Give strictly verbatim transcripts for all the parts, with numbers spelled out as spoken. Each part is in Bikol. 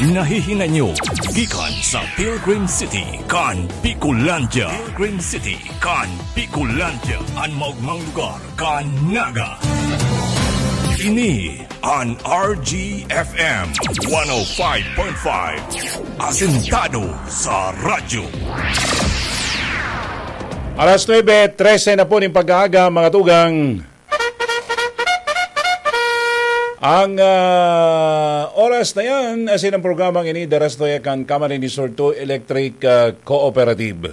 Nahihinay nyo gikan sa Pilgrim City kan Bicolandia. Pilgrim City kan Bicolandia, an maogmang lugar kan Naga. Ini an R G F M one oh five point five, asentado sa radyo. Alas nuebe trese na po ning pag-aaga, mga tugang. Ang, ah, oras na yan, asin ang programang ini, daras to kan Camarines Sur two Electric, ah, Cooperative.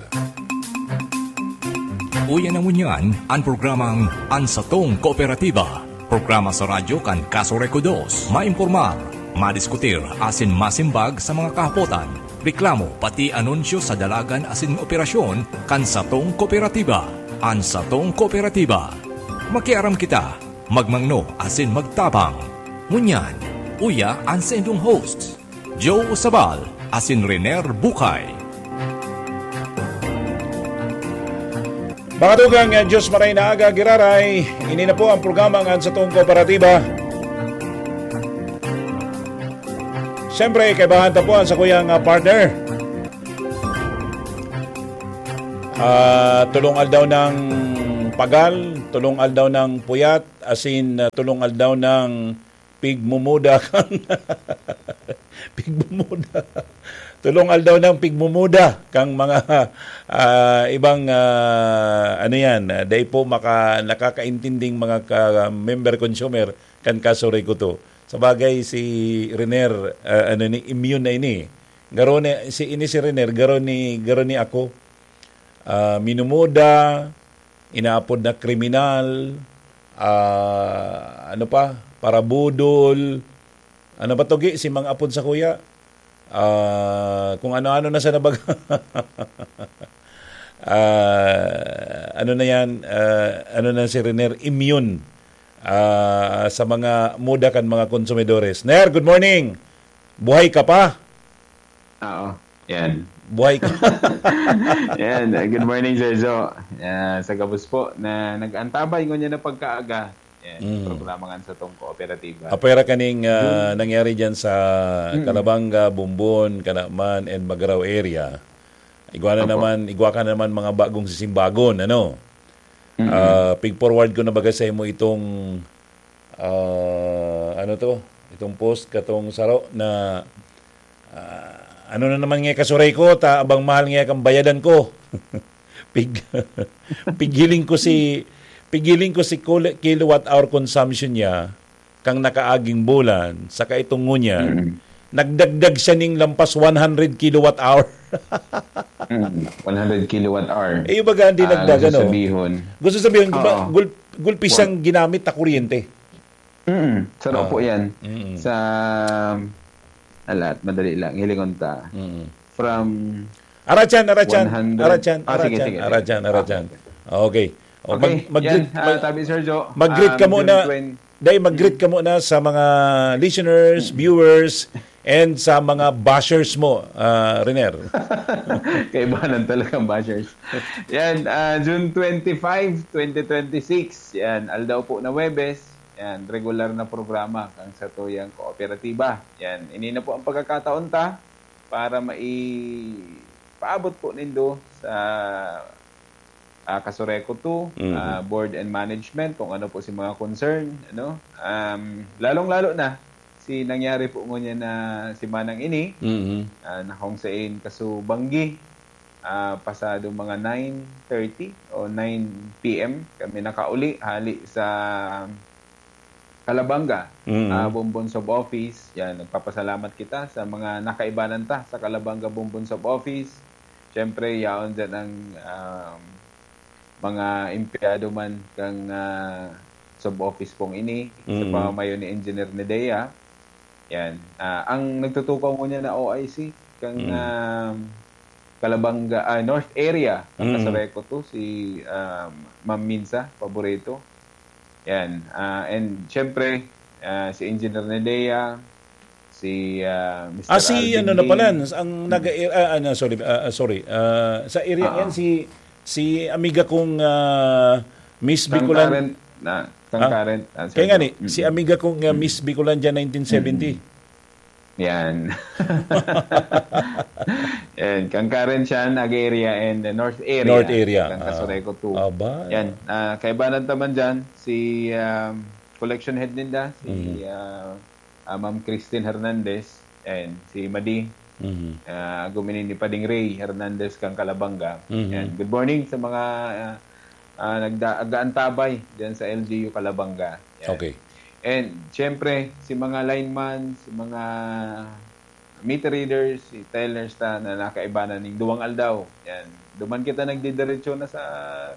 Uya na ngunyan an programang An Satong Kooperatiba. Programa sa radyo kan Kaso Reco dos. Maimpormar, madiskutir, asin masimbag sa mga kahapotan, reklamo, pati anunsyo sa dalagan asin operasyon kan satong kooperatiba. An Satong Kooperatiba. Makiaram kita, magmangno asin magtabang. Ngunyan, uya an saindong hosts, Joe Sabal asin Renier Bucay. Mga tugang, eh, Diyos maray na aga, giraray. Ini na po ang programang An Satong Kooperatiba. Siyempre, kaibahan ta po ang sakuyang, ah, partner. Ah, tulong aldaw ng pagal, tulong aldaw ng puyat, asin, ah, tulong aldaw ng pigmumuda kan pigmumuda. Tulong aldaw ng pigmumuda kang mga, ah, ibang, ah, ano yan, ah, dai po maka-, nakakaintinding mga ka-, member consumer kan Kaso Reco two. Sa bagay, si Renier, ah, ano ni, immune na ini. Garo ni, si, ini si Renier, garo ni, garo ni ako. Ah, minumuda, inaapod na kriminal, ah, ano pa, parabudol, ano pa togi, si mga apod sa kuya, ah, kung ano-ano na sa nabaga. Ah, ano na yan, ah, ano na si Renier, immune, ah, sa mga muda kan mga konsumidores. Ner, good morning! Buhay ka pa? Oo. Yan. Buhay ka. Yan. Good morning, Sir Joe. Yan. Sa gabos po na nag-antabay ngunyan na pagkaaga. Yan. Mm. Programa nga sa tong kooperatiba. Apwera kaning uh, nangyari dyan sa mm. Calabanga, Bumbon, Canaman, and Magarao area. Igwa na naman, igwa ka na naman mga bagong sisimbagon, ano? Mm-hmm. Uh, pig-forward ko na baga sa imo itong uh, ano to? Itong post katong saro na Ah, ano na naman nga kasuray ko, ta abang mahal nga kan bayadan ko. Pig, pighiling ko si pighiling ko si kilowatt hour consumption niya kang nakaaging bulan, saka itong ngunyan, mm-hmm. Nagdagdag siya ning lampas one hundred kilowatt hour. mm, one hundred kilowatt hour. Eh, yung baga, hindi uh, nagdag, ano? Sabihon. Gusto sabihin, gul, gulpi siyang ginamit na kuryente. Mm, saro po yan. Mm. Sa, alat, madali lang, hilingon ta. Mm. From Arachan, arachan, arachan, ah, sige, arachan, sige. Arachan, arachan. Ah, okay. Oh, okay. Mag, mag, yan, mag, uh, tabi, Sir Joe. Mag-greet um, ka muna. Dahil mag-greet ka muna sa mga listeners, mm. viewers, and sa mga bashers mo, uh, Renier. Kaibahan talagang bashers. Yan, uh, June twenty-five, twenty twenty-six. Yan, aldaw po na Webes. Yan, regular na programa kan satuyang kooperatiba. Yan, ini na po ang pagkakataon ta para maipaabot po nindo sa uh, Kasureco two, mm-hmm. uh, board and management, kung ano po si mga concern. Ano? Um, lalong-lalo na, si nangyari po ngunyan na si Manang ini, mm-hmm. uh, na kung sain kasubanggi, uh, pasado mga nine thirty o nine p.m. kami nakauli hali sa Calabanga, mm-hmm. uh, Bombon Sub Office. Yan, nagpapasalamat kita sa mga nakaibanan ta sa Calabanga Bombon Sub Office. Siyempre, yaon dyan ang um, mga empleyado man kang uh, sub-office pong ini, mm-hmm. sa pamamayo ni Engineer Nedea. Yan. Uh, ang nagtutukaw ngunyan na O I C, kang mm-hmm. um, Calabanga, uh, North Area, mm-hmm. Kasareco to, si um, Ma'am Minsa Paborito. Yan. Uh, and syempre, uh, si Engineer Nedea, si uh, Mister Ah, si Alvin ano na pala, ang naga ah, ano, sorry, ah, sorry. Ah, sa area ah, yan si si amiga kong uh, Miss Bicolan current na, ah, current, ah, kaya nga ni, mm-hmm. si amiga kong uh, Miss Bicolandia nineteen seventy. Mm-hmm. Yan. Yan. Kang Karen siya, Naga area and the North area. North area, Kang ah. Casureco two. Aba. Yan. Ah, kaibanan taman dyan, si um, collection head ninda, si Mhm. ah, ah, Ma'am Christine Hernandez, and si Madi, Mhm. ah, guminin ni Pading Ray Hernandez kang Calabanga. Mhm. Yan. Good morning sa mga ah, ah, nagda- nag-aantabay dyan sa L G U Calabanga. Yan. Okay. And, siyempre, si mga lineman, si mga meter readers, si tellers ta na nakaiba na ning duwang aldaw. Yan. Duman kita nagdidiretso na sa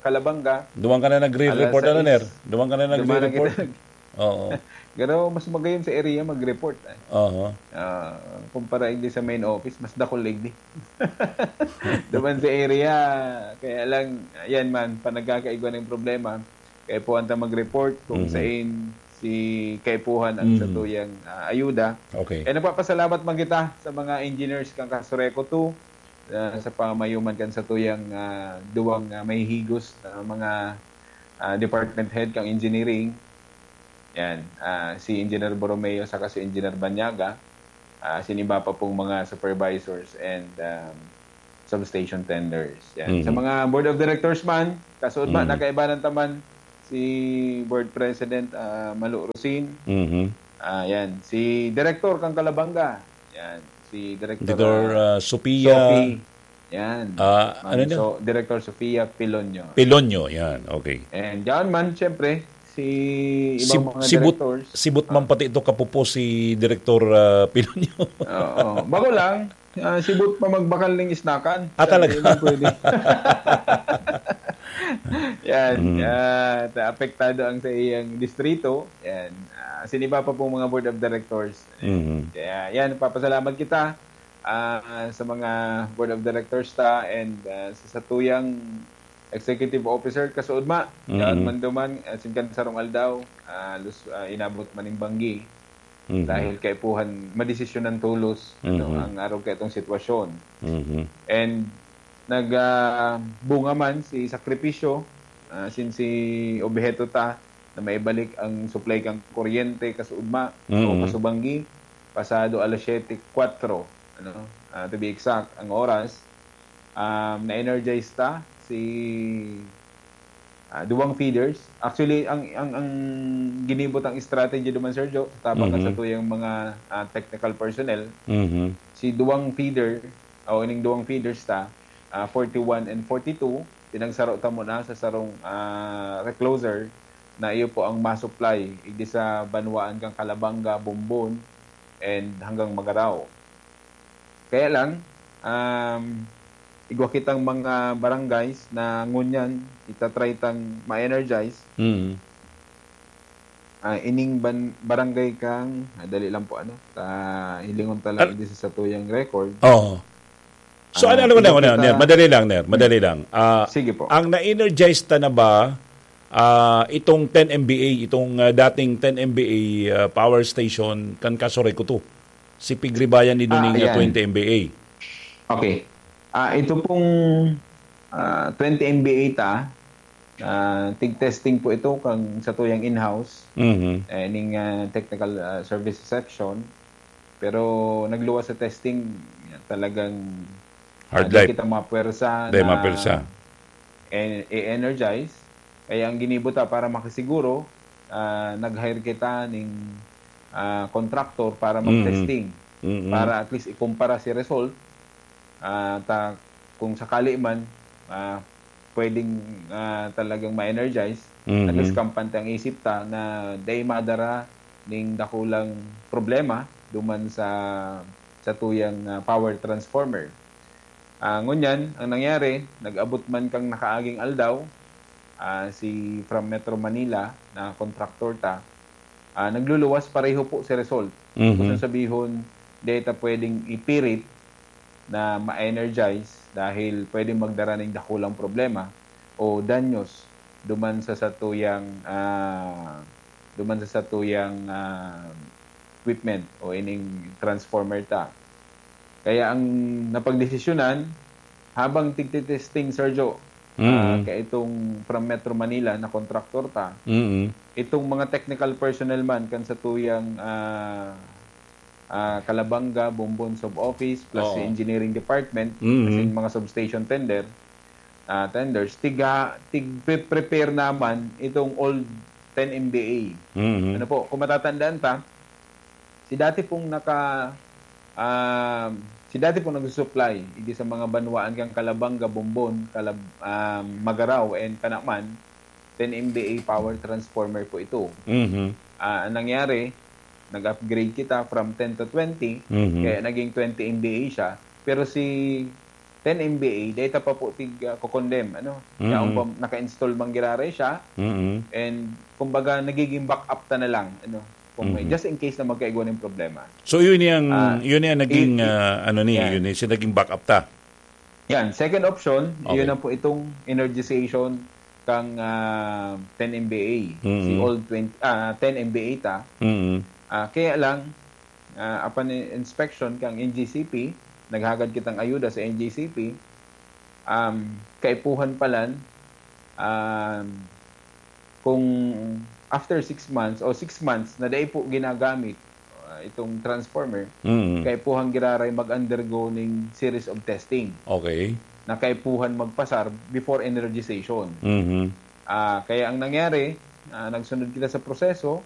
Calabanga. Duman ka na nagre-report, Alas ano, sais. Ner? Duman ka na Duman na nagre-report? kita nag- Oo. Pero mas magayon sa area mag-report, eh. Oho. Ah, kumpara igdi sa main office, mas dakul igdi. Duman sa area, kaya lang, ayan man, pa nagkakaigwa ng problema. Kaipuhan ta mag-report kung Mhm. sain si kaipuhan ang Mhm. satuyang, ah, ayuda. Okay. Eh, nagpapasalamat man kita sa mga engineers kang Casureco two, ah, sa pamayoman kan satuyang, ah, duwang, ah, mahihigos na mga, ah, department head kang engineering. Yan, ah, si Engineer Borromeo saka si Engineer Banyaga, ah, sin iba pa pong mga supervisors and, um, substation tenders. Yan. Sa Mhm. mga board of directors man, kasuod man, Mhm. nakaibanan ta man si Board President, ah, Malo Rosin. Mhm. Ah, yan. Si Director kang Kalabanga. Yan. Si Director, Director, ah, ah, Sophia. Sophie. Yan. Ah, Ma'am ano na? So, Director Sophia Pilonio. Pilonio, yan. Okay. And yan man, siyempre, si Si, ibang mga si But-, directors. si Butman Ah. pati ito kapupo si Director, ah, Pilonio. Oo. Bako lang, ah, si But pa magbakal ng isnakan. Ah, Sabi talaga? niya, pwede. Yan. Mm. Ah, ta-, apektado ang sa iyang distrito. Yan. Ah, sin iba pa pong mga board of directors. Mhm. Kaya yan, papasalamat kita, ah, sa mga board of directors ta and, ah, sa satuyang executive officer, kasuod ma, Mm. yaon man duman, ah, sin kan sarong aldaw, ah, lus-, ah, inabot man ning banggi. Mhm. Dahil kaipuhan, madesisyonan tolos, ano, Mhm. ang arog kaitong sitwasyon. Mhm. And nag, ah, bunga man si sakripisyo, ah, sin si obheto ta na maibalik ang supply kan kuryente kasuud ma o Mm. kasubanggi, pasado alas siyete kwatro, ano, ah, to be exact, ang oras. Um, na-energize ta si, ah, duwang feeders. Actually, ang, ang, ang ginibo tang strategy duman, Sergio, sa tabang Mhm. sa tuyang mga, ah, technical personnel, Mhm. si duwang feeder, o ining duwang feeders ta, ah, forty-one and forty-two, pinagsaro ta muna sa sarong, ah, recloser na iyo po ang ma-supply igdi sa banwaan kang Calabanga, Bombon, and hanggang Magarao. Kaya lang, um, igwa kitang mga barangays na ngunyan itatry tang ma-energize. Mm. Ah, ining ban-, barangay kang, ah, dali lang po, ano, ta-, hilingon ta lang Al- igdi sa satuyang record. Oo. So, Ah, ano, ano, ano, ano, ano, kita Ner? Madali lang, Ner. Madali lang. Ah, Sige po. ang na-energize ta na ba, ah, itong ten M V A, itong, ah, dating ten M V A, ah, power station, kan Casureco two? Si Pigribayan ni Ah, Duning, ah, ayan. twenty M V A. Okay. Ah, ito pong, ah, twenty M V A ta, ah, tig-testing po ito kang satuyang in-house, Mhm. eh, ning, ah, technical, ah, service section. Pero nagluwas sa testing, talagang, Hard ah, di life. kita mapuwersa Di na mapuwersa. en-, i-energize. Kaya ang ginibo ta para makasiguro, ah, nag-hire kita ning, ah, contractor para Mm. mag-testing. Mm. Para at least ikumpara si result. Ah, ta-, kung sakali man, ah, pwedeng, ah, talagang ma-energize, Mhm. at least kampante ang isip ta na dai madara ning dakulang problema duman sa, sa tuyang, ah, power transformer. Ah, ngunyan, ang nangyari, nag-abot man kang nakaaging aldaw, ah, si from Metro Manila na kontraktor ta, ah, nagluluwas pareho po si result. Mhm. Gusto sabihon, di ta pwedeng ipirit na ma-energize dahil pwedeng magdara ning dakulang problema o danyos duman sa satuyang, ah, duman sa satuyang, ah, equipment o ining transformer ta. Kaya ang napagdesisyonan, habang tigtitesting, Sergio, ah, Mm. kaya itong from Metro Manila na kontraktor ta, Mm. itong mga technical personnel man kan satuyang, ah, ah, Calabanga, Bombon Sub-Office, plus Oo. si Engineering Department, Mhm. kasi yung mga substation tender, ah, tenders, tiga, tig-prepare naman itong old ten M B A. Mhm. Ano po, kung matatandaan ta, si dati pong naka, ah, si dati pong nagsusupply, hindi sa mga banwaan kang Calabanga, Bombon, Calab-, ah, Magarao, and Canaman, ten M B A power transformer po ito. Mhm. Ah, ang nangyari, nag-upgrade kita from ten to twenty, Mhm. kaya naging twenty M B A siya. Pero si ten M B A, data pa po tig, ah, kokondem, ano? Mhm. Yaon pa, naka-install man giraray siya, Mhm. and kumbaga, nagiging backup ta na lang, ano? Kung may, Mhm. just in case na magkaigwa ng problema. So yun yung Ah, yun yung naging i- i- ah, ano ni, yan. yun yung naging backup ta. Yan, second option, Okay. yun na po itong energization kang ah, ten M B A, Mhm. si old twenty, ah, ten M B A ta. Mhm. Ah, kaya lang, ah, upon inspection kang N G C P, naghagad kitang ayuda sa N G C P, um, kaipuhan palan, um, kung after six months o six months na dai po ginagamit ah, itong transformer, Mhm. kaipuhan giraray mag-undergo ning series of testing Okay. na kaipuhan magpasar before energization. Mhm. Ah, kaya ang nangyari, ah, nagsunod kita sa proseso,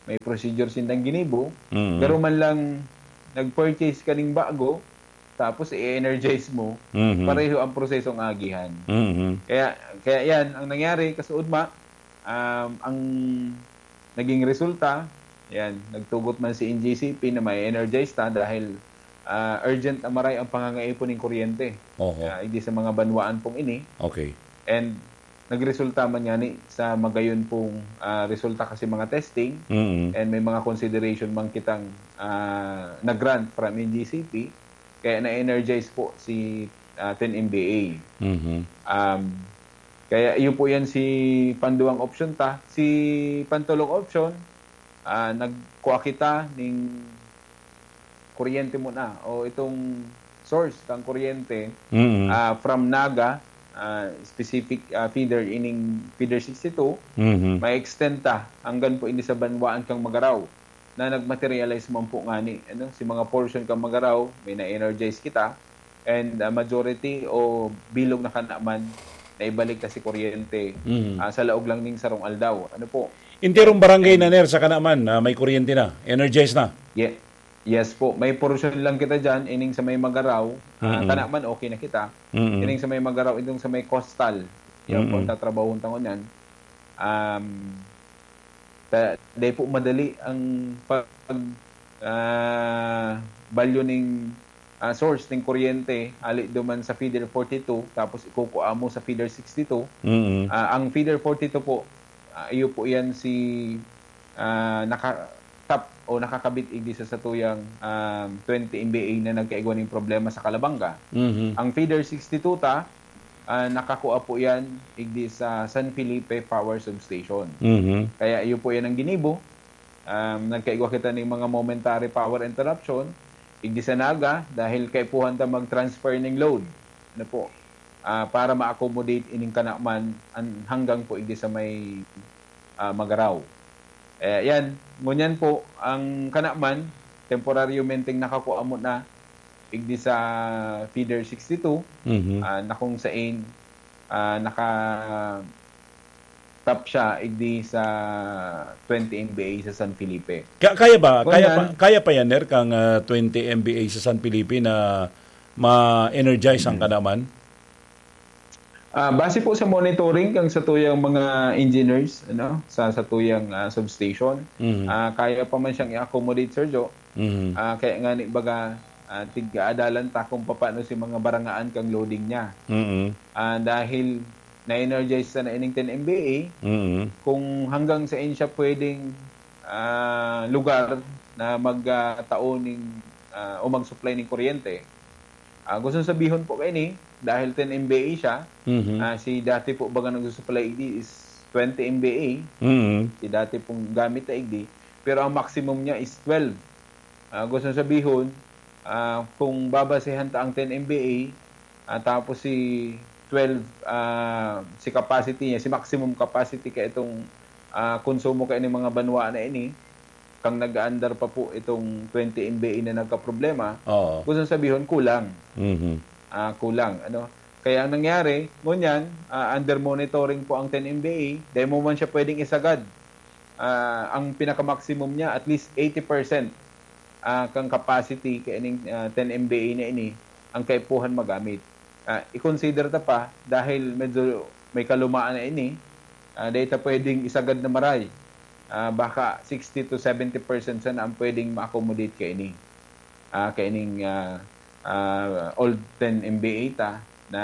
may procedure sindang ginibo, Mhm. pero man lang nag-purchase ka ning bago, tapos i-energize mo, Mhm. pareho ang prosesong agihan. Mhm. Kaya, kaya yan, ang nangyari, kasuodma, um, ang naging resulta, yan, nagtugot man si N G C P na may energize ta dahil ah, urgent na maray ang pangangaipon ning kuryente. Oho. Ah, hindi sa mga banwaan pong ini. Okay. And nagresulta man yani sa magayon pong ah, resulta kasi mga testing Mhm. and may mga consideration man kitang ah, na-grant from N G C P, kaya na-energize po si ah, ten M B A. Mhm. Um, kaya iyo po yan si panduang option ta. Si pantulong option, ah, nagkuha kita ning kuryente muna o itong source kang kuryente Mhm. ah, from Naga, ah, specific ah, feeder, ining feeder sixty-two, Mhm. ma-extend ta hanggang po ini sa banwaan kang Magarao na nag-materialize man po ngani, ano, si mga portion kang Magarao, may na-energize kita, and ah, majority o bilog na kanaman na ibalik ta si kuryente Mhm. ah, sa laog lang ning sarong aldaw. Ano po? Enterong barangay na ner sa Canaman na may kuryente na, energized na. Ye- yes po, may portion lang kita dyan, ining sa may Magarao, ah, Mm-mm. Canaman, okay na kita. Mm-mm. Ining sa may Magarao, itong sa may coastal, yung Mm-mm. pagtatrabaho ta ngunyan. Um, ta, dahil po madali ang pag ah, balyo ning ah, source ning kuryente, ali duman sa feeder forty-two, tapos ikukua mo sa feeder sixty-two. Mm-mm. Ah, ang feeder forty-two po, ah, iyo po yan si ah, naka-tap o nakakabit igdi sa satuyang ah, twenty M B A na nagkaigwa ning problema sa Calabanga. Mhm. Ang feeder sixty-two ta, ah, nakakua po yan igdi sa San Felipe Power Substation. Mhm. Kaya iyo po yan ang ginibo. Um, nagkaigwa kita ning mga momentary power interruption igdi sa Naga dahil kaipuhan ta mag-transfer ning load. Ano po? Ah, para ma-accommodate ining Canaman an-, hanggang po igdi sa may ah, Magarao. Eh, yan. Ngunyan po, ang Canaman, temporaryo menteng nakakua mo na igdi sa feeder sixty-two, Mhm. ah, na kung sain ah, naka-tap siya igdi sa twenty M B A sa San Felipe. Ka- kaya ba? Kung Kaya yan- pa, kaya pa yan, Ner, kang ah, twenty M B A sa San Felipe na ma-energize ang Canaman? Ah, base po sa monitoring kang satuyang mga engineers, ano, sa satuyang ah, substation, Mhm. ah, kaya pa man siyang i-accommodate, Sir Joe. Mhm. Ah, kaya nga ni baga, ah, tig-aadalan ta kung paano si mga barangaan kang loading niya. Mhm. Ah, dahil na-energize na ining ten M B A, Mhm. kung hanggang saan siya pwedeng ah, lugar na magtao ning ah, o mag-supply ning kuryente. Ah, gusto sabihon po kaini, dahil ten M B A siya, Mhm. ah, si dati po baga nagsusupply igdi is twenty M B A, Mhm. si dati pong gamit na igdi, pero ang maximum niya is twelve. Ah, gusto sabihon, ah, kung babasehan ta ang ten M B A, ah, tapos si twelve, ah, si capacity niya, si maximum capacity ka itong ah, konsumo kaini mga banwa na ini, kang nag-aandar pa po itong twenty M B A na nagkaproblema, Oo. gusto sabihon, kulang. Mhm. Ah, kulang, ano. Kaya ang nangyari, ngunyan, ah, under monitoring po ang ten M B A, dahil mo man siya pwedeng isagad. Ah, ang pinaka-maximum niya, at least eighty percent, ah, kang capacity kaining, ah, ten M B A na ini, ang kaipuhan magamit. Ah, i-consider ta pa, dahil medyo may kalumaan na ini, ah, dahil ta pwedeng isagad na maray. Ah, baka sixty to seventy percent sana ang pwedeng ma-accommodate kaini. Ah, kaining, ah, ah, old ten M B A ta na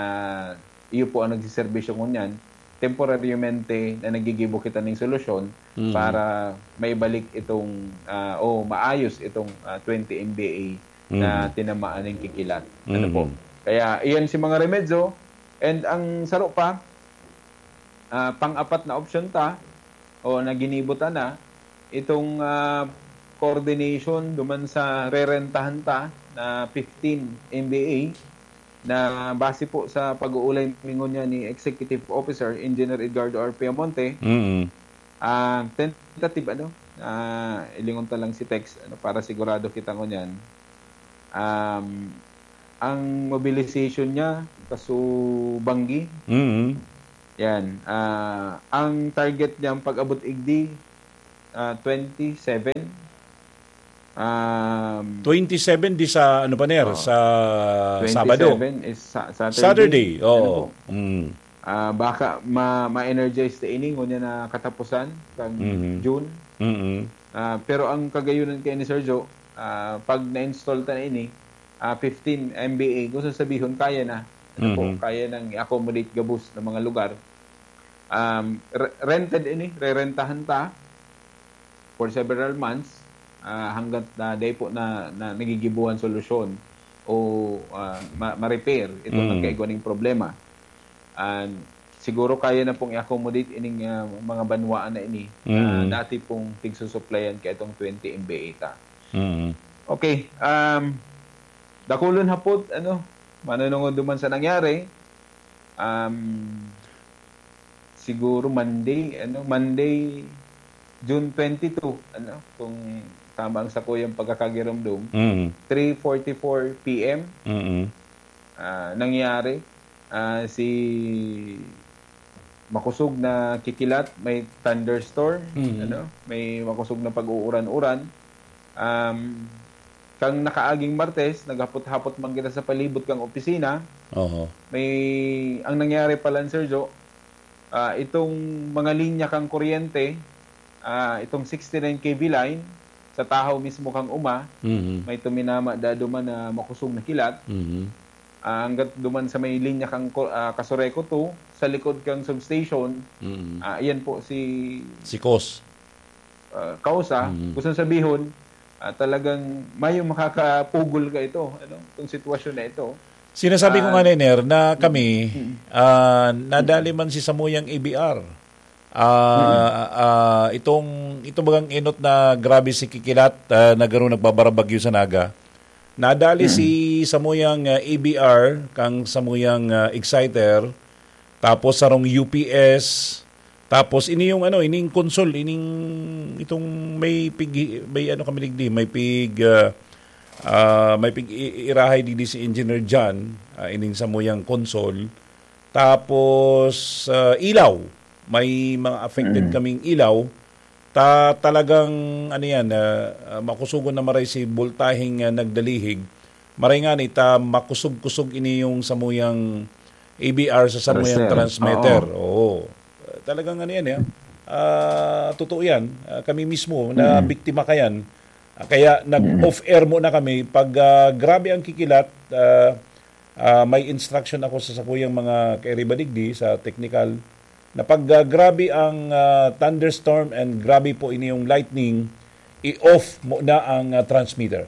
iyo po ang nagsiserbisyo ngunyan, temporaryamente na nagigibo kita ning solusyon Mm. para maibalik itong, ah, o maayos itong, ah, twenty M B A na Mm. tinamaan ng kikilat. Ano po? Mm. Kaya iyan si mga remedyo. And ang saro pa, ah, pang-apat na opsyon ta, o na ginibo ta na, itong, ah, coordination duman sa rerentahan ta na fifteen M B A, na base po sa pag-uulay mi ngunyan ni Executive Officer Engineer Edgardo R. Piamonte, Mm. ah, tentative, ano, ah, ilingon ta lang si Tex, ano, para sigurado kita ngunyan. Um, ang mobilization niya, kaso banggi. Mm. Yan. Ah, ang target niya, ang pag-abot igdi, ah, twenty-seven. Um, Twenty-seven di sa, ano pa, Ner? Oo. Sa Sabado. twenty-seven is sa Saturday. Saturday, Ano oo. po? Mm. Ah, baka ma- ma-energize ta ini ngunyan na katapusan kang Mhm. June. Mm. Ah, pero ang kagayunan kay ni Sergio, ah, pag na-install ta na ini, ah, fifteen M B A, gusto sabihon, kaya na. Ano po, Mhm. kaya nang i-accommodate gabos ng mga lugar. Um, re- rented ini, rerentahan ta for several months, ah, hanggat na dai po na, na nagigibuhan solusyon o, ah, ma- ma-repair itong Mm. nagkaigwa ning problema. And siguro kaya na pong i-accommodate ining, ah, mga banwaan na ini na Mm. dati pong tigsusuplayan kay itong twenty M B A ta. Mm. Okay, um, dakulon hapot, ano, manunungod duman sa nangyari, um, siguro Monday, ano, Monday, June twenty-two, ano, kung tama ang sakuyang pagkakagirumdum, Mm. three forty-four P M, Mm. ah, nangyari, ah, si makusog na kikilat, may thunderstorm, Mhm. ano, may makusog na pag-uuran-uran. Um, kang nakaaging Martes, naghapot-hapot man kita sa palibot kang opisina. Oho. May, ang nangyari pala, Sergio, ah, itong mga linya kang kuryente, ah, itong sixty-nine K V line, sa tahaw mismo kang uma, Mhm. may tuminama dado man na makusog na kilat. Mhm. Ah, hanggat duman sa may linya kang ko- ah, Casureco two, sa likod kang substation, Mhm. ah, iyan po si Si Cos. ah, kausa. Mhm. Gusto sabihon, ah, talagang mayong makakapugol ka ito, ano, itong sitwasyon na ito. Sinasabi ko Ah, nga, Niner, na kami, Mm. ah, nadali man si samuyang A B R. Ah, ah, itong, itong bagang enot na grabe si kikilat, ah, na garo nagbabarabagyo sa Naga. Nadali si samuyang, ah, A B R, kang samuyang, ah, exciter, tapos sarong U P S, tapos ini yung ano, ining console, ining itong may pig, may ano kami digdi, may pig, ah, ah, may pig i- irahay digdi si Engineer John, ah, ining samuyang console. Tapos, ah, ilaw, may mga affected Mm. kaming ilaw. Ta talagang ano yan, ah, ah, makusugon na maray si bultahing, ah, nagdalihig. Maray nga ni ta makusog-kusog ini yung samuyang A B R sa samuyang Transfer. Transmeter. Oo. Oo. Ah, talagang ano yan, eh. Ah, totoo yan. Ah, kami mismo na biktima ka yan. Ah, kaya nag-off-air muna kami. Pag, ah, grabe ang kikilat, ah, ah, may instruction ako sa sakuyang mga kairiba digdi sa technical na pag, ah, grabe ang, ah, thunderstorm and grabe po ini yung lightning, i-off muna ang, ah, transmitter.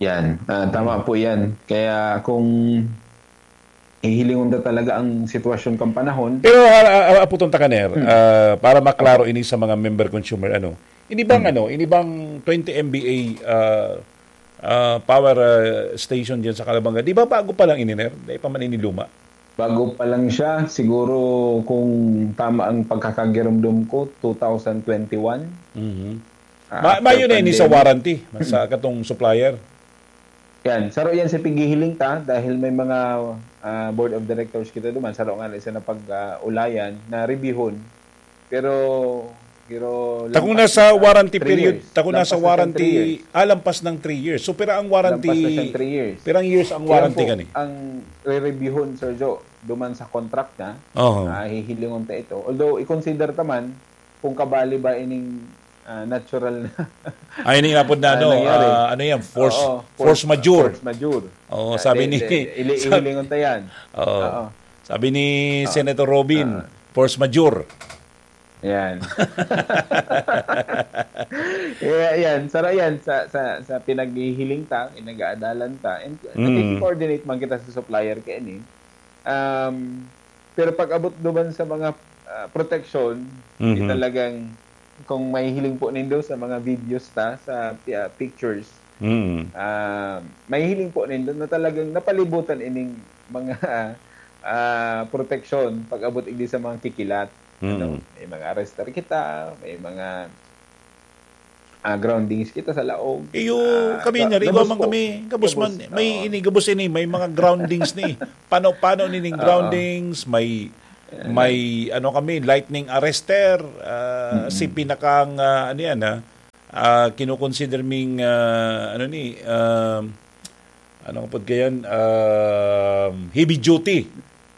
Yan. Ah, tama po yan. Kaya kung hihilingon na talaga ang sitwasyon kang panahon, Pero ah, ah, ah, aputon ta ka, Ner, ah, para maklaro ini sa mga member consumer, ano, ini bang, ano, ini bang twenty M B A, ah, ah, power, ah, station dyan sa Calabanga, di ba bago pa lang ini, Ner? Di pa man ini luma? Bago pa lang siya, siguro kung tama ang pagkakagirumdum ko, two thousand twenty-one. Mhm. Ah, Ma-, after mayo na ini sa pandemic. Warranty, sa katong supplier? Yan, saro yan sa paghihiling ta dahil may mga, ah, board of directors kita duman, saro nga na isa na pag, ah, ulayan na reviewhon. Pero, pero Takong lampas nasa na warranty three period, years. Takong Lampas nasa na siyang warranty, three years. Ah, lampas ng three years. So, pira ang warranty, Lampas na siyang three years. Pirang years ang Yan warranty po kani? Ang re-reviewhon, Sir Joe, duman sa contract na, Oho. Ah, hihilingon ta ito. Although, i-consider ta man kung kabali ba ining, ah, natural na Ay, ini nga po na, ah, ano, nangyari. Ah, ano yan? Force, Oo, force force, majeure. Force majeure. Oo, Ah, sabi de-, ni, de-, ili-, sa-, ihilingon ta yan. Oo. Oo. Sabi ni Oo. Senator Robin, Ah. force majeure. Yan. Kaya yan, saro yan sa, sa, sa pinaghihiling ta, pinag-aadalan ta, and Mm. nakiki-coordinate man kita sa supplier kaini. Um, pero pag abot duman sa mga, ah, protection, di Mhm. talagang, kung mahihiling po nindo sa mga videos ta, sa pi-, ah, pictures, Mm. ah, mahihiling po nindo na talagang napalibutan ining mga, ah, protection pag abot igdi sa mga kikilat. Ano, Mm. may mga arrester kita, may mga, ah, groundings kita sa laog. Iyo, Ah, kami ga-, na, igwa gabos man po. kami, gabos Gabos, man, may oo. ini, gabos ini, may mga groundings ni. Pano-pano nining Oo. groundings, may, Ayan. may, ano kami, lightning arrester, ah, Mm-mm. si pinakang, ah, ano yan, ah, ah, kinukonsider ming, ah, ano ni, ah, ano nga pod kayan, ah, heavy duty.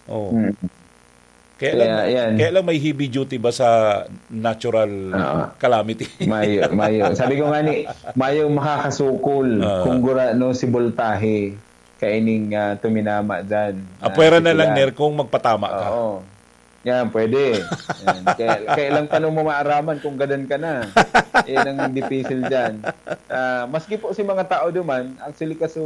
Oh. Mm. Kaya lang, Kaya, yan. kaya lang may heavy duty ba sa natural Oo. calamity? Mayo, mayo. Sabi ko nga ni, mayo makakasukol Ah. kung gurano si Voltahe kaining, ah, tuminama dyan, ah, Apwera na lang, sikilan. Ner, kung magpatama ka. Oo. Yan, pwede. Yan. Kaya, kaya lang paano mo maaraman kung gadan ka na? Yan ang dipisil dyan. Ah, maski po si mga tao duman, actually, kaso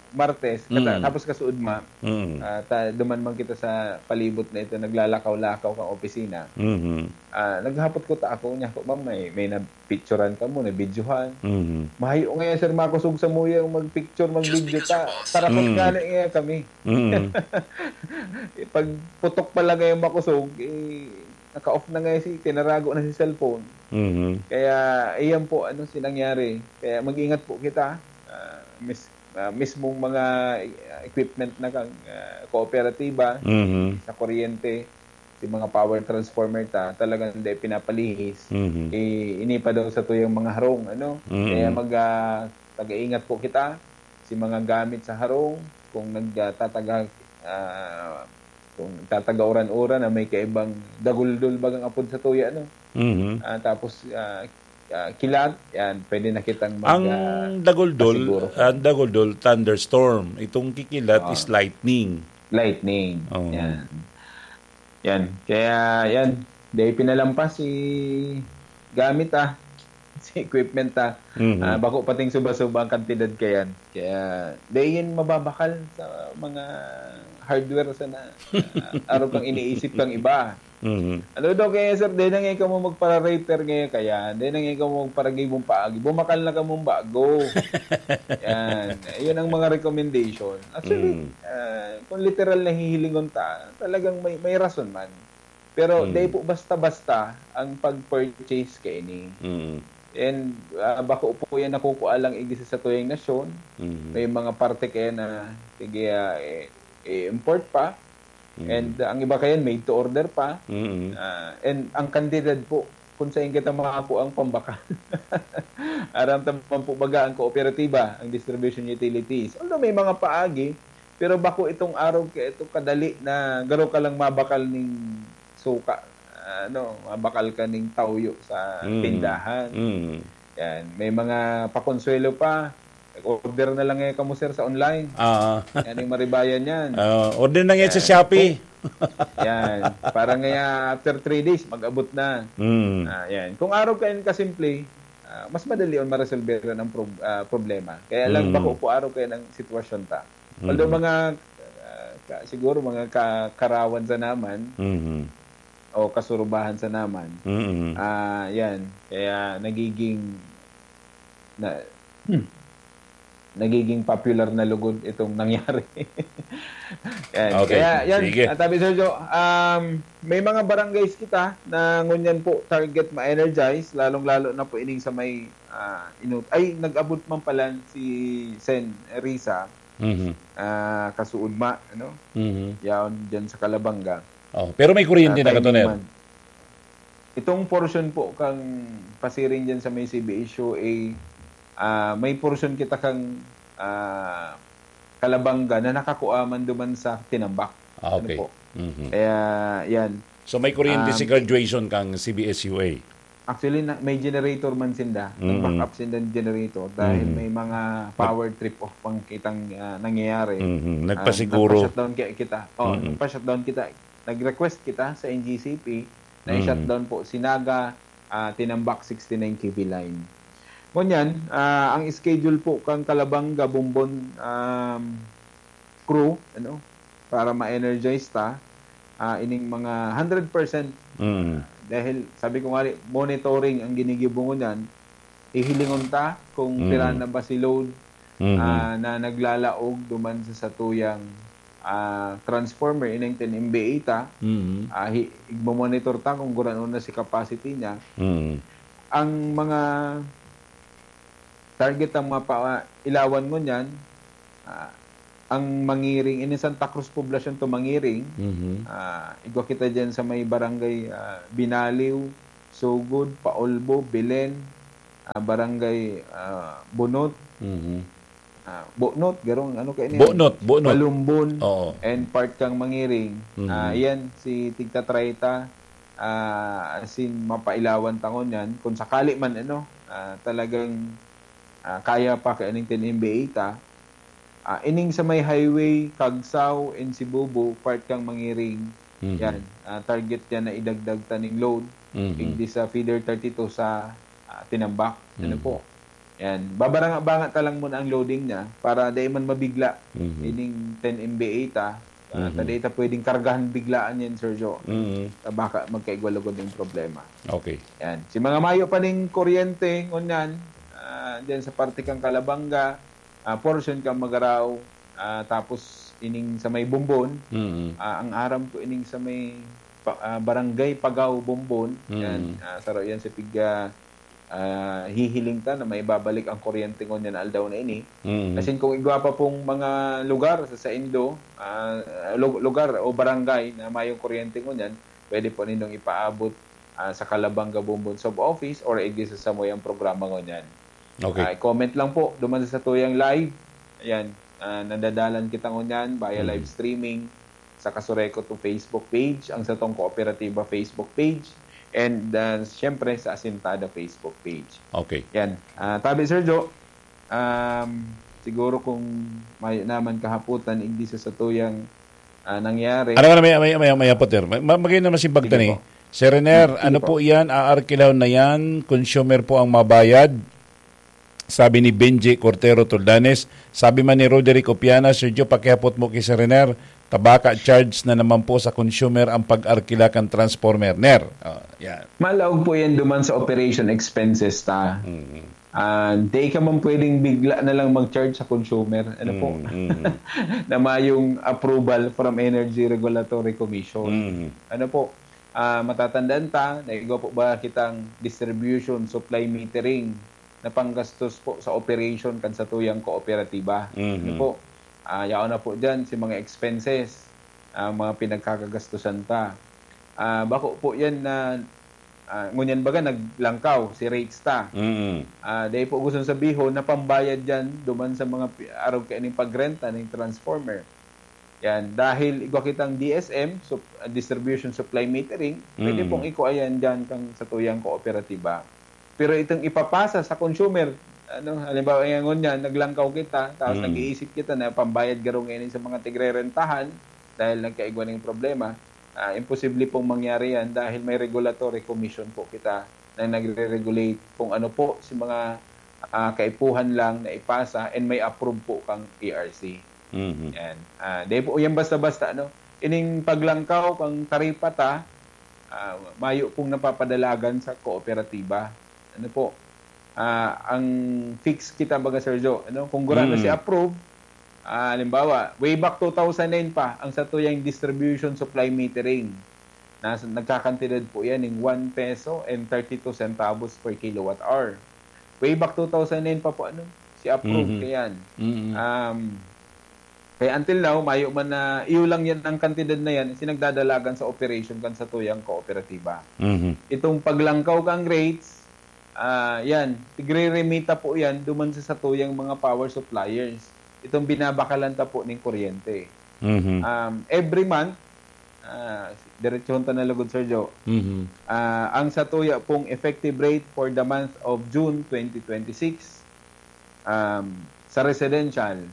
Martes, kata-, Mm. tapos kasuudma, Mm. ah, ta-, duman man kita sa palibot na ito, naglalakaw-lakaw kang opisina. Mhm. Ah, naghapot ko ta ako, niya ko, "Ma'am, may, may napicturan ka mo, nabidyohan?" Mhm. "Mahayo nga yan, sir, makusog sa muya yung magpicture, magbidyo ta." Tarakot Mm. nga na nga kami. Mm. Pag putok pa lang ngayon makusog, eh, naka-off na nga si, tinarago na si cellphone. Mhm. Kaya, iyan po, ano, si nangyari. Kaya mag-ingat po kita. Ah, mis-, ah, mismong mga, ah, equipment na kang, ah, kooperatiba, Mhm. sa kuryente, si mga power transformer ta, talagang hindi pinapalihis. Mhm. Eh, ini pa daw sa tuyang mga harong, ano? Mhm. Kaya mag, ah, taga-ingat po kita, si mga gamit sa harong, kung nagtataga, ah, kung tataga uran-uran na may kaibang daguldol bagang apod sa tuya, no? Mhm. Ah, tapos, ah, ah, kilat, yan, pwede na kitang mag, Ang ah, daguldol, pasiguro. Ang daguldol, thunderstorm. Itong kikilat Ah. is lightning. Lightning. Oo. Yan. Yan. Kaya, yan. Dahil pinalampas si gamit, ah. Si equipment, ah. Mhm. Ah, bako pating suba-suba ang kantidad kayan. Kaya, dahil yan mababakal sa mga hardware sana. Ah, araw kang iniisip kang iba. Mhm. Ano daw kaya, sir? Dahil na ngayon ka mo magpara-repair ngayon kaya. Dahil na ngayon ka mo magparagay mong paagi. Bumakal na ka mong bago. Yan. Yun ang mga recommendation. Actually, Mm. ah, kung literal na hihilingon ta, talagang may, may rason man. Pero Mm. dai po basta-basta ang pag-purchase kaini. Mm. And, ah, bako po yan nakukua lang igdi sa satuyang nasyon. Mm. May mga parte kaya na, sige, ah, eh, i-import pa. Mm. And, ah, ang iba kayan, made to order pa. Mm. Ah, and ang kantidad po, kung saan kita makakua ang pambakal. Aram ta man po baga ang kooperatiba, ang distribution utilities. Although may mga paagi, pero bako itong arog kaya ito kadali na garo ka lang mabakal ning suka, ano, mabakal ka ning tawyo sa Mm. tindahan. Mm. Yan. May mga pakonsuelo pa. Nag-order na lang ngayon kamo, sir, sa online. Ah. Yan yung maribayan yan. Ah, order na ngayon sa Yan. Shopee. Kung, yan. Para ngayon, after three days, mag-abot na. Mm. Ah, yan. Kung arog kayan kasimple, ah, mas madali on maresolberan ang prob-, ah, problema. Kaya lang Mm. bako po arog kayan ang sitwasyon ta. Although Mm. mga, ah, ka-, siguro mga ka-, karawan sa naman, Mhm. o kasurubahan sa naman, Mm. ah, yan. Kaya nagiging na, Hmm. nagiging popular na lugod itong nangyari. Yan. Okay. Kaya yan, Sige. Tabi Sergio, um, may mga barangays kita na ngunyan po target ma-energize, lalong-lalo na po ining sa may uh, inut ay, nag-abot man pala si Sen Risa, Mhm. uh, Kasuudma, ano? Mhm. Yaon dyan sa Kalabanga. Oh, pero may kuryente Ah, na timing katuner. man. Itong portion po kang pasiring dyan sa may C B S U A, ah, may portion kita kang ah, Kalabanga na nakakuha man duman sa Tinambak. Ah, okay. Ano po? Mhm. Kaya yan. So may kuryente Um, si graduation kang C B S U A. Actually, na, may generator man sinda. Mm. Nag-back up sinda ng generator dahil Mm. may mga power trip off pang kitang ah, nangyayari. Mhm. Ah, Nagpasiguro. nagpa-shutdown kaya kita. Oh, Mm. nagpa-shutdown kita. Nag-request kita sa N G C P na Mm. i-shutdown po si Naga, ah, Tinambak sixty-nine K V line. Ngunyan, ah, ang schedule po kang Kalabanga, Bombon um, crew, ano, para ma-energize ta, ah, ining mga hundred percent Mhm. dahil sabi ko nga, monitoring ang ginigibo ngunyan, hihilingon ta kung Mm. pira na ba si load Mhm. ah, na naglalaog duman sa satuyang ah, transformer, ining ten M V A ta, Mhm. ah, hi- igmamonitor ta kung gurano na si capacity niya. Mhm. Ang mga target ang mga pa, ilawan ngunyan, ah, ang Mangiring, ini Santa Cruz Poblacion to Mangiring, Mhm. ah, igwa kita dyan sa may barangay ah, Binaliw, Sugod, Paulbo, Belen, ah, barangay ah, Bunot, Mhm. ah, Bunot, garong ano kayo niya? Bunot, Bunot. Palumbon, Oo. and part kang Mangiring. Mhm. Ah, yan, si Tigta Trayta, ah, as in, mapailawan tangon yan. Kung sakali man, ano, ah, talagang ah, kaya pa kay aning ten M V A ta, ah, ining sa may highway, Kagsaw, and Sibubo, part kang Mangiring, Mhm. yan, ah, target yan na idagdag taning load, Mhm. igdi sa feeder thirty-two sa ah, Tinambak. Ano Mhm. po? Yan. Babaranga-banga ta lang muna ang loading niya para dai man mabigla Mhm. ining ten M V A ta. Ah, Mhm. ta dai ta pwedeng kargahan biglaan yan, Sir Joe. Mhm. Ta baka magkaigwa lugod yung problema. Okay. Yan. Si mga mayo pa ning kuryente, ngunyan, ah, dyan sa parte kang Kalabanga, ah, portion kang Magarao, ah, tapos ining sa may Bombon, Mhm. ah, ang aram ko ining sa may pa- ah, Barangay Pagaw, Bombon, Mm. yan, ah, saro yan sa pig, ah, ah, hihiling ta na may babalik ang kuryente ngunyan na aldaw na ini. Mhm. Asin kung igwa pa pong mga lugar sa saindo, ah, lu- lugar o barangay na mayong kuryente ngunyan, pwede po nindong ipaabot ah, sa Kalabanga Bombon Sub-Office or igdi sa samuyang programa ngunyan. Okay. Ah, comment lang po duman sa satuyang live. Ayan, ah, nadadalan kita ngunyan via Mhm. live streaming sa Kasureco to Facebook page, ang satong Kooperatiba Facebook page, and ah, siyempre sa Asintada Facebook page. Okay. Yan. Ah, tabi, Sir Joe, um, siguro kung may naman kahaputan, igdi sa satuyang ah, nangyari. Ano nga na may, may, may, may apot, sir? Ma- ma- Magay naman si Sige Bagtani. po. Sir Rener, Sige ano po. po yan? Aarkilaw na yan? Consumer po ang mabayad? Sabi ni Benji Cortero Toldanes. Sabi man ni Roderick Opiana, Sir Joe, pakihapot mo kay Sir Rener, tabaka charge na naman po sa consumer ang pag-arkila kan transformer. Ner, oh, yan. Malaog po yan duman sa operation expenses ta. Mhm. Ah, di ka man pwedeng bigla na lang mag-charge sa consumer. Ano po? Mm, mm. Na mayong approval from Energy Regulatory Commission. Mm. Ano po? Ah, matatandaan ta, na igwa po ba kitang distribution, supply metering na panggastos po sa operation kan satuyang kooperatiba. Mhm. Ano po? Ah, yaon na po dyan si mga expenses, ah, mga pinagkakagastusan ta. Ah, bako po yan na, ah, ngunyan baga naglangkaw si rates ta. Mm. Ah, dahil po gusto sabihon na pambayad dyan duman sa mga pi- arog kaining pagrenta ng transformer. Yan, dahil igwa kitang D S M, sup- distribution supply metering, pwede Mm. pong ikuha yan dyan kang satuyang kooperatiba. Pero itong ipapasa sa consumer, ano, halimbawa, yan ngunyan, naglangkaw kita, tapos Mm. nag-iisip kita na pambayad garo ngayon sa mga tigrerentahan dahil nagkaigwa ng problema, ah, imposible pong mangyari yan dahil may regulatory commission po kita na nagre-regulate kung ano po si mga ah, kaipuhan lang na ipasa and may approve po kang E R C. Mhm. Yan. Ah, di po yan basta-basta, ano? Ining paglangkaw kang taripa ta, ah, mayo pong napapadalagan sa kooperatiba. Ano po? ah, ang fix kita, baga, Sir Joe, ano? Kung gurano Mm. si approve, ah, halimbawa, way back two thousand nine pa, ang satuyang distribution supply metering, nas-, nagkakantidad po yan ng one peso and thirty-two centavos per kilowatt hour. Way back two thousand nine pa po, ano? Si approve Mhm. kayan. Mm. Um, kaya until now, mayo man na, iyo lang yan ang kantidad na yan, sinagdadalagan sa operation kan satuyang kooperatiba. Mhm. Itong paglangkaw kang rates, ah, yan, tigre-remita po yan duman sa satuyang mga power suppliers. Itong binabakalan ta po ning kuryente. Mhm. Um, every month, ah, diretsohon ta na lugod, Sir Joe. Mhm. Ah, ang satuya pong effective rate for the month of June twenty twenty-six, um, sa residential,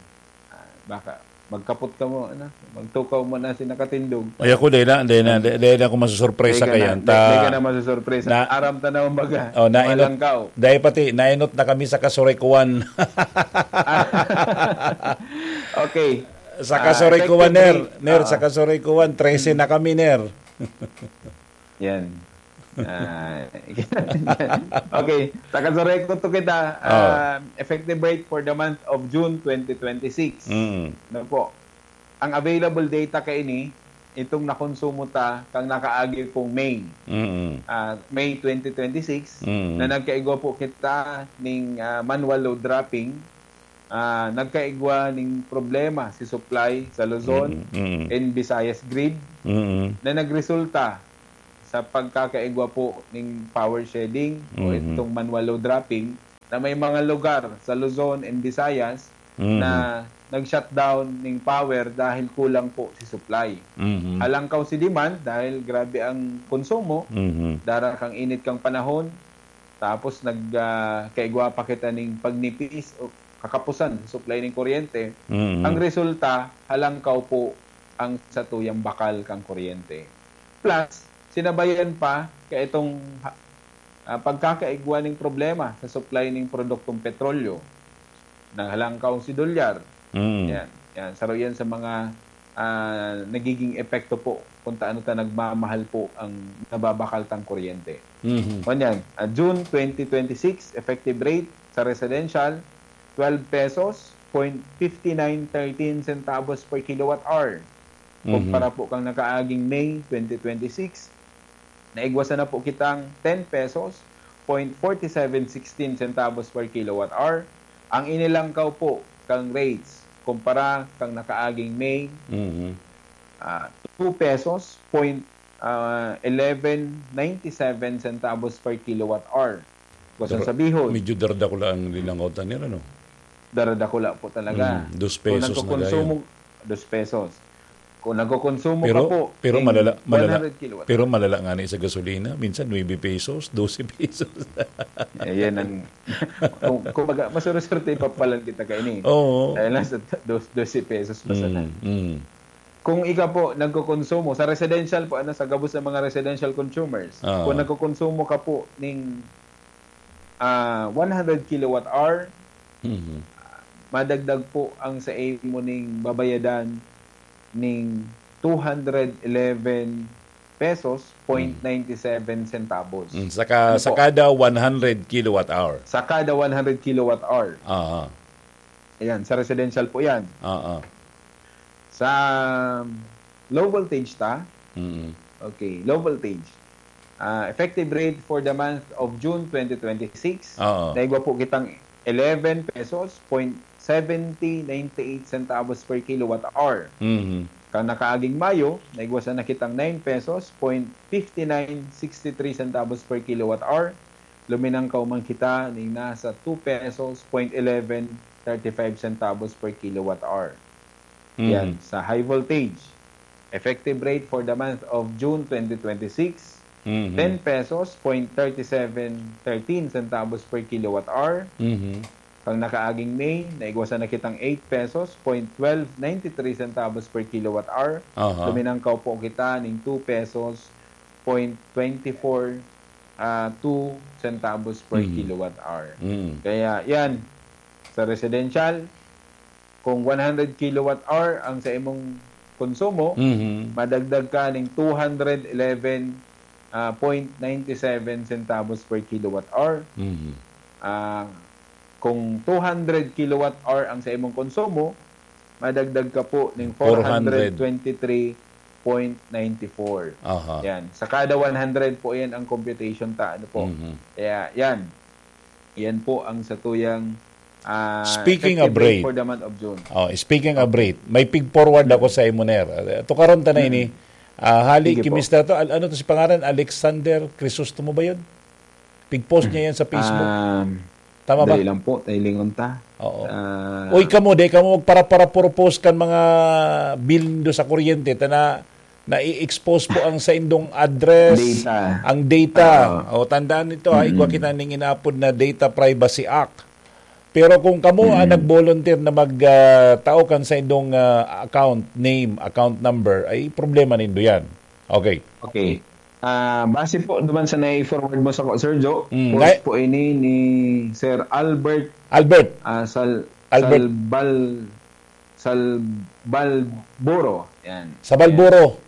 ah, baka magkapot ka mo, ano? Magtukaw mo na si nakatindog. Ay, ako, dahil na, dahil na, dahil, dahil ako masusurpresa Dahil ka na, kayan. dahil ka Ta, na masusurpresa. na, Aram ta na, kumbaga, oh, nainot, malangkaw. dahil pati, nainot na kami sa kasurekuan. Okay. Sa Ah, kasurekuan, effective Ner. rate. Ner, sa Ah. kasurekuan, trese na kami, Ner. Yan. Ah, okay. Sa kasurekuan to kita, Oh. ah, effective rate for the month of June twenty twenty-six. Mm. Ano po? Ang available data kaini, itong nakonsumo ta kang nakaagi pong May, Mm. ah, May twenty twenty-six, Mm. na nagkaigwa po kita ning, ah, manual load dropping, ah, nagkaigwa ning problema si supply sa Luzon Mm, mm. and Visayas grid Mm. na nagresulta sa pagkakaigwa po ning power shedding o Mm. itong manual load dropping na may mga lugar sa Luzon and Visayas Mm. na nag-shutdown ning power dahil kulang po si supply. Mm. Halangkaw si demand dahil grabe ang konsumo, Mm. dara kang init kang panahon, tapos nag, ah, kaigwa pa kita ning pagnipis o kakapusan sa supply ning kuryente. Mm. Ang resulta, halangkaw po ang satuyang bakal kang kuryente. Plus, sinabayan pa ka itong ha-, ah, pagkakaigwa ning problema sa supply ning produktong petrolyo. Naghalangkaw si dolyar. Mm. Yan, yan. Saro yan sa mga, ah, nagiging epekto po kung taano ta nagmamahal po ang nababakal tang kuryente. Mhm. Ngunyan, ah, June twenty twenty-six, effective rate sa residential, twelve pesos, point fifty nine thirteen centavos per kilowatt hour. Mhm. Kumpara po kang nakaaging May twenty twenty-six, naigwasan na po kitang ten pesos, point forty seven sixteen centavos per kilowatt hour. Ang inilangkaw po kang rates kumpara kang nakaaging May, Mhm. ah, two pesos, point, ah, eleven ninety-seven centavos per kilowatt hour. Gusto Dara-, sabihon, medyo daradakula ang linangotan nila, no? Daradakula po talaga. Mm, dos Kung pesos na nagkokonsumo, gayon. Dos pesos. Kung nagkokonsumo Pero, ka po pero ng malala-, malala-, one hundred kilowatt. pero malala nga na sa gasolina. Minsan, nuebe pesos, dose pesos. Eh, yan ang, kung, kumbaga, masuruswerte pa palan kita kaini. Oo. Dahil nasa dos-, dose pesos pa sana. Mm, mm. Kung ika po nagkokonsumo, sa residential po, ano, sa gabos ng mga residential consumers, Oo. kung nagkokonsumo ka po ning, ah, one hundred kilowatt hour, Mhm. madagdag po ang sa imo ning babayadan ning two hundred eleven pesos, Mm. point ninety seven centavos. Mm, sa ka-, Ano sa po? kada one hundred kilowatt hour. Sa kada one hundred kilowatt hour. Aha. Ayan, sa residential po yan. Oo. Sa low voltage ta, Mm. okay, low voltage. Ah, effective rate for the month of June twenty twenty-six, Oo. naigwa po kitang eleven pesos, point seventy ninety eight centavos per kilowatt hour. Mhm. Kan nakaaging Mayo, naigwasan na kitang nine pesos, point fifty nine sixty three centavos per kilowatt hour. Luminangkaw man kita ning nasa two pesos, point eleven thirty five centavos per kilowatt hour. Mhm. Yan, sa high voltage. Effective rate for the month of June twenty twenty-six, Mhm. ten pesos, point thirty seven thirteen centavos per kilowatt hour. Mhm. Kang nakaaging May, naigwasan na kitang eight pesos, point twelve ninety three centavos per kilowatt hour. Aha. Luminangkaw po kita ning two pesos, point twenty four, ah, two centavos per Mhm. kilowatt hour. Mm. Kaya yan, sa residential, kung one hundred kilowatt hour ang sa imong konsumo, Mhm. madagdag ka ning two hundred eleven, ah, point ninety seven centavos per kilowatt hour. Mhm. Ah, kung two hundred kilowatt hour ang sa imong konsumo, madagdag ka po ning four hundred twenty-three point nine four. Aha. Yan. Sa kada one hundred po yan ang computation ta. Ano po? Mhm. Kaya yan. Yan po ang sa tuyang ah, Speaking of effective rate rate. for the month of June. Oh, speaking of rate, may pig-forward ako sa imo, Ner. Tukaron ta na ini. Ah, hali, Sige po. kimista to. Al- ano to si pangaran? Alexander Crisostomo ba yun? Pig-post niya yan sa Facebook. Um, Tama ba? Dali lang po, tailingon ta. Oo. Ah, Uy, kamo, di kamo magpara-para puro post kan mga bill nindo sa kuryente, ta na, na-expose po ang saindong address, Data. ang data. Oo. O, tandaan nito, ha, igwa kita ning inapod na Data Privacy Act. Pero kung kamo ang nag-volunteer na mag ah, tao kan saindong ah, account name, account number, ay problema nindo yan. Okay. Okay. Ah, base po naman sa nai-forward mo sa ko, Sir Joe, Mm, post ngay- po ini ni Sir Albert Albert, ah, Sal Albert. Salbal Salbalboro. Yan. Sabalboro.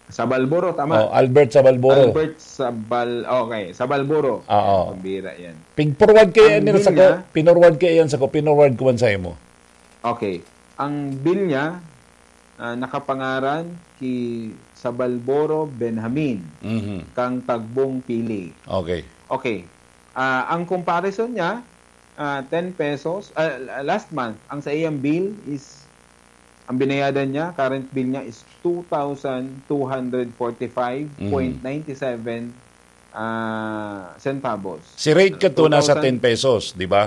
Sabalboro, tama. Oh, Albert Sabalboro. Albert Sabal Okay, Sabalboro. Oo. Yan, pambira yan. Pig-forward kayo Ang yan bill sa ko, niya- pinorward kayo yan sa ko, pinorward ko man sa imo. Okay. Ang bill niya ah, nakapangaran ki Sabalboro Benjamin Mhm. kang Tagbong Pili. Okay. Okay. Ah, ang comparison niya, ah, ten pesos, ah, last month, ang sa iyang bill is, ang binayadan niya, current bill niya is two thousand two hundred forty-five point nine seven ah, centavos. Si rate ka to nasa Two thousand ten pesos, di ba?